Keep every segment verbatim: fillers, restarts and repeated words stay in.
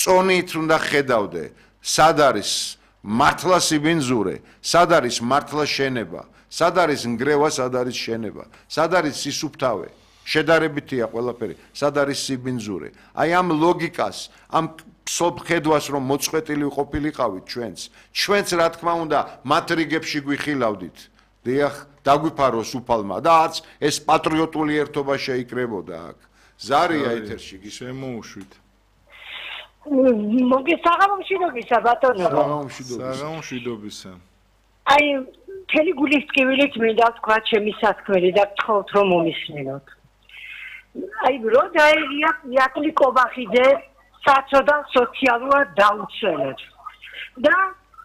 წონით უნდა ხედავდე, სად არის მართლა სიბინძურე, სად არის მართლა შენება, სად არის ნგრევა, სად არის შენება, სად არის სისუფთავე, შედარებითია ყველაფერი, სად არის სიბინძურე. აი ამ ლოგიკას, ამ სოფხედვას რომ მოწყვეტილი ყოფილიყავით ჩვენც, ჩვენც რა თქმა უნდა მათ რიგებში გვიხილავდით. დიახ, დაგვიფაროს უფალმა და არც ეს პატრიოტული ერთობა შეიკრებოდა აქ. ზარია ეთერში შემოუშვით. მოგესაღამოშვიდობისა ბატონო. საღამოშვიდობისა. აი მთელი გულის ტკივილით მინდა ვთქვა ჩემი სასქმელი და გთხოვთ რომ მომისმინოთ. აი რო დაერია იაკლი კობახიძე საწოდა სოციალურად დაუცველად. და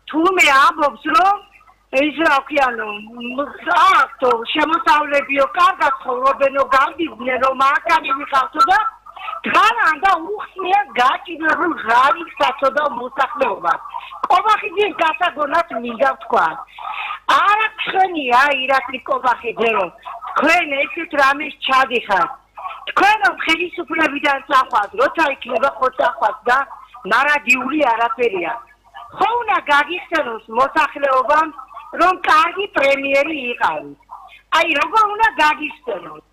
თურმე ამბობს რომ ის რა ქვია, აქტო შემოსავლებიო კარგად ცხოვრობენო გამდიდნენ რომ აქანი ვიყავთო და დგანან და უხსნიან გაჭირებულ ღარიბ საწოდა მოსახლეობას. კობახიძის გასაგონად მინდა ვთქვა. არა თქვენია ირაკლი კობახიძე რომ თქვენ ესეთ რამეს ჩადიხართ. თქვენ რომ ხელისუფლებიდან წახვათ, როცა იქნება ხო წახვათ და ნარადიული არაფერია. ხო უნდა გაგიხსენოს მოსახლეობამ რომ კარგი პრემიერი იყავით. აი როგორ უნდა გაგიხსენოს.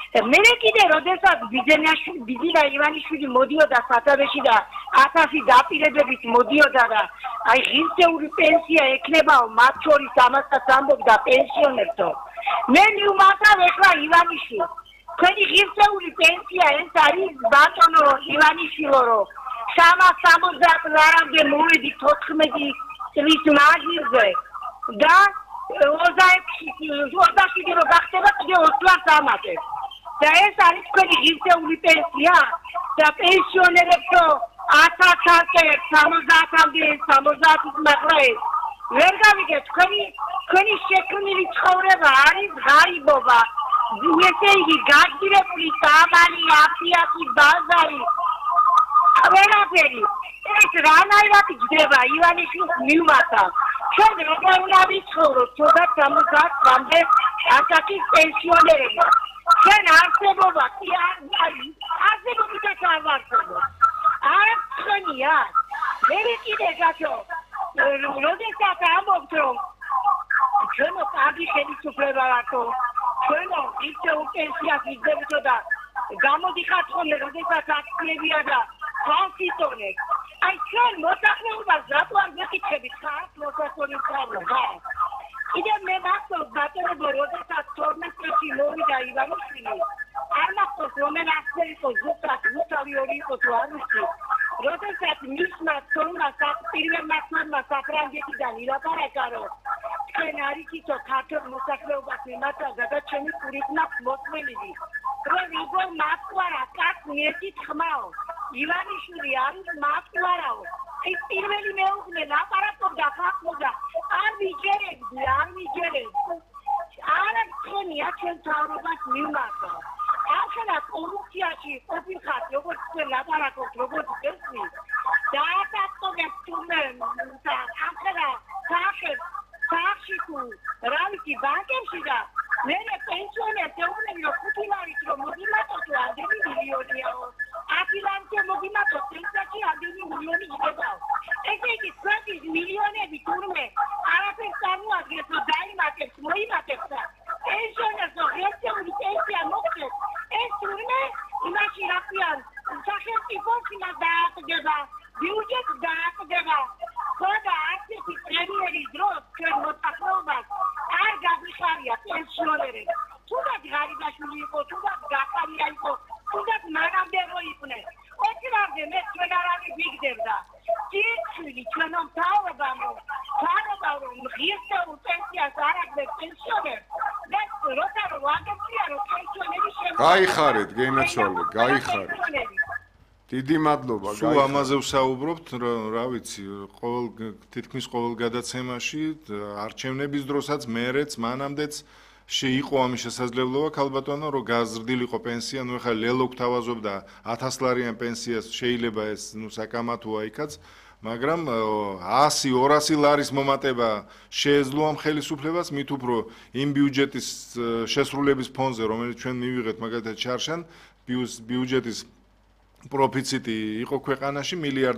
მე კიდე როდესაც ბიძინა ივანიშვილი მოდიოდა სათავეში და ათასი დაპირებებით მოდიოდა და აი ღირსეული პენსია ექნებაო მათ შორის ამასაც ამბობდა პენსიონერთო. მე მივმართავ ეხლა ივანიშვილს. თქვენი ღირსეული პენსია ეს არის ბატონო ივანიშვილო რომ სამას სამოცდაათ ლარამდე მოვედი თოთხმეტი წლის მაღლზე და ოცდაშვიდი რო გახდება კიდე ოც ლარს ამატებ. და ეს არის თქვენი ღირსეული პენსია და პენსიონერებო ათასამდე სამოცდაათამდე სამოცდაათის მაღლა ეს ვერ გავიგეთ თქვენი თქვენი შექმნილი ცხოვრება არის ღარიბობა. ესე იგი გაჭირებული სამალი აფიათი ბაზარი ყველაფერი ეს რანაირად ჯდება ივანიშვილს მივმართავ. ჩვენ როგორ უნდა ვიცხოვროთ ცოტა სამოცდაათამდე ასაკის პენსიონერები. ჩვენ არსებობა კი არსებობითაც არ ვარსებობ. არ თქვენია. მე კიდე გახო როდესაც ამბობთ რომ ჩვენო კარგი ხელისუფლება ვართ, ჩვენო ისევ პენსიას იგდებოდო და გამოდიხართ ხოლმე როდესაც აქციებია და კონსტიტუცია. აი ჩვენ მოსახლეობას რატო არ გეკითხებით ხართ მოსახლეობის პრობლემა? კიდე მე მახსოვს ბატონო როდესაც თორმეტ წელს მოვიდა ივანიშვილი არ მახსოვს რომელი ახალი იყო ზუსტად ზუსტად ორი იყო თუ არ ვიცი როდესაც მისმა თორმა პირველმა თორმა საფრანგეთიდან ილაპარაკა რომ თქვენ არიცითო ქართულ მოსახლეობას მიმართავდა და ჩემი პურით მაქვს მოსმენილი რომ როგორ მათყარა კაც მიერთით ხმაო ივანიშვილი არის მათყარაო ის პირველი მეუღლე ლაპარაკობდა ხახმოდა არ მიჯერებდი არ მიჯერებდი არა თქვენია ჩვენ თავრობას მივმართავ ახლა კორუფციაში ყოფილხარ როგორც თქვენ ლაპარაკობთ როგორც გესმი და აკეთებს თუმე ახლა სახე სახში თუ რა ვიცი ბანკებში და მე პენსიონერს ეუბნები რომ ხუთი ლარით რომ მოგიმატოთ ამდენი მილიონიაო ათი ლარით მოგიმატოთ პენსიაში ამდენი მილიონი იქებაო ესე იგი შვიდი მილიონები თურმე არაფერს წარმოადგენს რომ დაიმატებს მოიმატებს და პენსიონერს ღირსეული პენსია მოგცეს ეს თურმე იმაში რა ქვიან სახელმწიფოს იმას დააყდება ბიუჯეტს დააყდება ხოდა ასეთი პრემიერის დროს ჩვენ მოსახლეობას არ გაგვიხარია პენსიონერები თუნდაც ღარიბაშვილი იყო თუნდაც გახარია იყო თუნდაც მანამდე რო იყვნენ ოქრამდე მე ჩვენ არავის ვიგდებდა ძირცვილი ჩვენო მთავრობამ თავრობა რომ ღირსეულ პენსიას არ აგდებს პენსიონერს და როცა რომ აგებია რომ პენსიონერი შემო გაიხარეთ გენაცვალე გაიხარეთ დიდი მადლობა გაიხარეთ სულ ამაზე ვსაუბრობთ რა ვიცი ყოველ თითქმის ყოველ გადაცემაში არჩევნების დროსაც მერეც მანამდეც შეიყო ამის შესაძლებლობა ქალბატონო რომ გაზრდილიყო პენსია ნუ ეხლა ლელო გვთავაზობდა ათას ლარიან პენსიას შეიძლება ეს ნუ საკამათოა იქაც მაგრამ ასი ორასი ლარის მომატება შეეძლო ამ ხელისუფლებას მით უფრო იმ ბიუჯეტის შესრულების ფონზე რომელიც ჩვენ მივიღეთ მაგალითად ჩარშან ბიუჯეტის პროფიციტი იყო ქვეყანაში მილიარდ